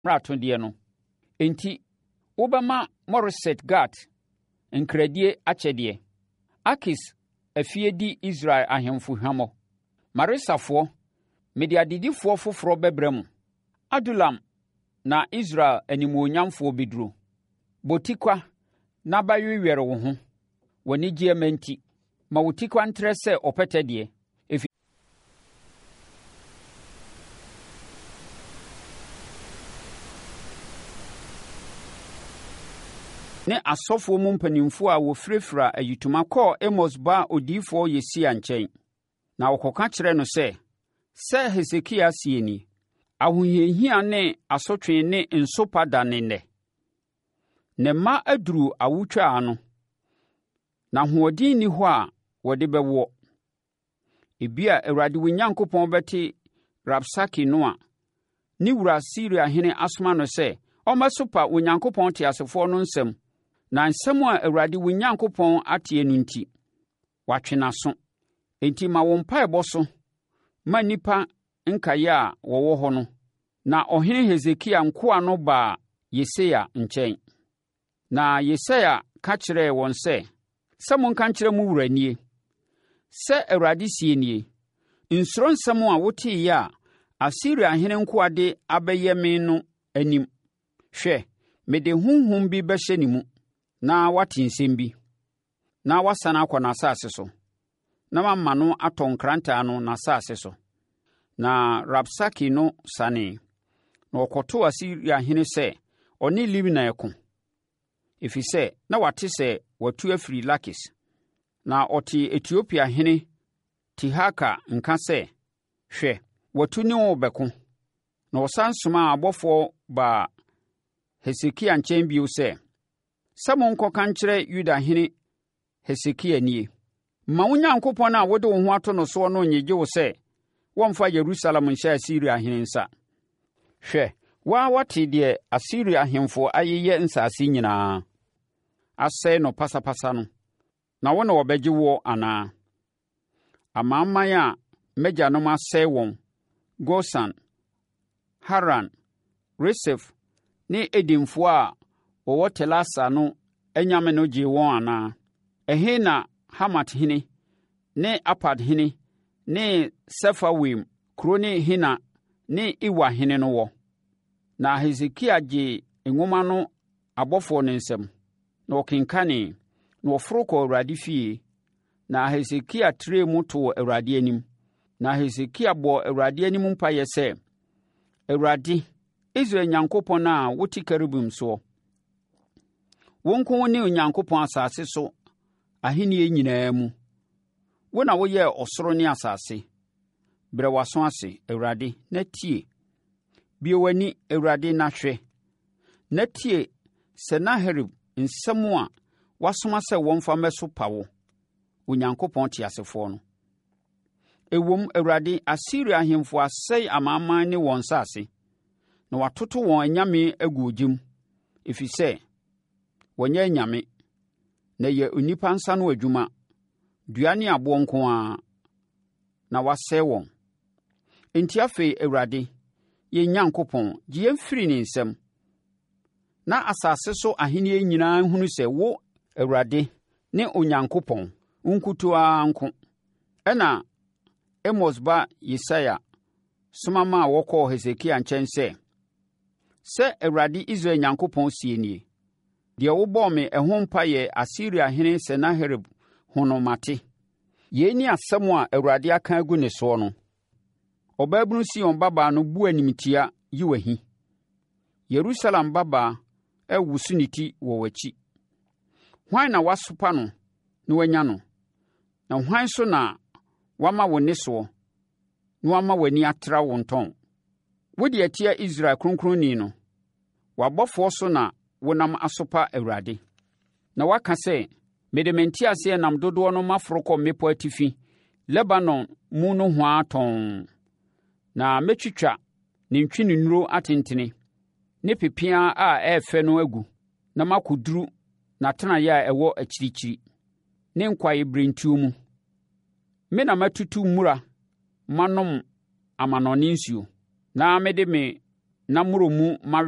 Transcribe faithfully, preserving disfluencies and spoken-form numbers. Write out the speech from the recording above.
mmaratodeɛ no. Enti wobɛma Moreset-Gat nkradie akyɛdeɛ. Akis afie di Israel ahemfo hwammɔ. Maresafoɔ, mede adedifoɔ foforɔ bɛbrɛ mo. Adulam na Israel animuonyamfoɔ bɛduro. Bɔ tikwa na bɛwewɛre wo ho, w'anigyeɛ mma nti. Ma wo tikwa ntrɛ sɛ ɔpɛtɛ deɛ, ne asɔfoɔ mu mpanimfoɔ a wɔfirafira ayitoma kɔɔ Amos ba odiyifoɔ Yesaia nkyɛn, na wɔkɔka kyerɛɛ no sɛ, Sɛ Hesekia seɛ nie, Ahohiahia ne asotwe ne nsopa da ne nnɛ. Ne mma aduru awotwaa ano, na ahoɔden nni hɔ a wɔde bɛwoɔ. Ebia Awurade wo Nyankopɔn bɛte Rabsake no a ne wura Asiriahene asoma no sɛ ɔmmɛsopa Onyankopɔn teasefoɔ no nsɛm, na nsɛm a Awurade wo Nyankopɔn ateɛ no nti, watwe n'aso. Enti ma wo mpaebɔ so ma nnipa nkaeɛ a wɔwɔ hɔ no. Na ɔhene Hesekia nkoa no baa Yesaia nkyɛn. Na Yesaia ka kyerɛɛ wɔn sɛ, Sɛ monka nkyerɛ mo wura nie, 'Sɛ Awurade seɛ nie, Nsuro nsɛm a woteeɛ a Asiriahene nkoa de abɛyɛ me no anim. Hwɛ, mede honhom bi bɛhyɛ ne mu, na wate nsɛm bi, na wasane akɔ n'asase so, na mama no atɔ nkrantɛ ano n'asase so.' Na Rabsake no sanee, na ɔkɔtoo Asiriahene sɛ ɔne Libna reko, ɛfiri sɛ na wate sɛ watu afiri Lakis. Na ɔtee Etiopiahene Tirhaka nka sɛ, Hwɛ, watu ne wo rebɛko. Na ɔsane somaa abɔfoɔ baa Hesekia nkyɛn bio sɛ, Sɛ monkɔka nkyerɛ Yudahene Hesekia nie, Mma wo Nyankopɔn a wode wo ho ato no soɔ no nnyegye wo sɛ wɔmmfa Yerusalem nhyɛ Asiriahene nsa. Hwɛ, wo ara woate deɛ Asiria ahemfo ayeyɛ nsase nyinaa, asɛe no pasapasa no, na wo na wɔbɛgye woɔ anaa? Amanaman a m'agyanom asɛe wɔn, Gosan, Haran, Resef ne Edenfoɔ a wɔwɔ Telasar no anyame no gyee wɔn anaa? Ɛhe na Hamathene ne Arpadhene ne Sefarwaim kuro ne Hena ne Iwa hene no wɔ? Na Hesekia gyee nwoma no abɔfoɔ no nsam, na ɔkenkanee, na ɔforo kɔɔ Awurade fie. Na Hesekia trɛɛ mu too Awurade anim. Na Hesekia bɔɔ Awurade anim mpaeɛ sɛ, Awurade, Israel Nyankopɔn a wote kerubim soɔ, wo nko wo ne Onyankopɔn asase so ahennie nyinaa mu. Wo na woyɛɛ ɔsoro ne asase. Brɛ w'aso ase, Awurade, na tie. Bue w'ani, Awurade, na hwɛ, na tie Senaherib nsɛm a wasoma sɛ wɔmfa mmɛsopa wo, Onyankopɔn teasefoɔ no. Ɛwom, Awurade, Asiria ahemfo asɛe amanaman ne wɔn nsase, na wɔatoto wɔn anyame agu ogya mu, ɛfiri sɛ wɔnyɛ anyame, na ɛyɛ onipa nsa ano adwuma, dua ne aboɔ nko ara, na wɔasɛe wɔn. Enti afei, Awurade, yɛn Nyankopɔn, gye yɛn firi ne nsam, na asase so ahennie nyinaa nhunu sɛ wo, Awurade, ne Onyankopɔn, wo nkutoo ara nko. Ɛnna Amos ba Yesaia soma maa wɔkɔɔ Hesekia nkyɛn sɛ, Sɛ Awurade Israel Nyankopɔn seɛ nie, Deɛ wobɔɔ me ɛho mpaeɛ Asiriahene Senaherib ho no mate. Yei ne asɛm a Awurade aka agu ne soɔ no. Ɔbaabunu Sion babaa no bu animtia yi w'ahi. Yerusalem babaa rewoso ne ti wɔ w'akyi. Hwan na woasopa no na woanya no? Na hwan so na woama wo nne soɔ na woama w'ani atra wo ntɔn? Wode atia Israel Kronkronni no. W'abɔfoɔ so na wonam asopa Awurade. Na woaka sɛ, Mede me nteaseɛnam dodoɔ no maforo kɔ mmepɔ atifi, Lebanon mu nohoa tɔnn. Na mɛtwitwa ne ntweneduro atentene ne pepeaa a ɛyɛ fɛ no agu na makɔduru n'atenaeɛ a ɛwɔ akyirikyiri, ne kwaeɛbirentuo mu. Me na matutu mmura manom amannɔne nsuo, na mede me nammono mu mawe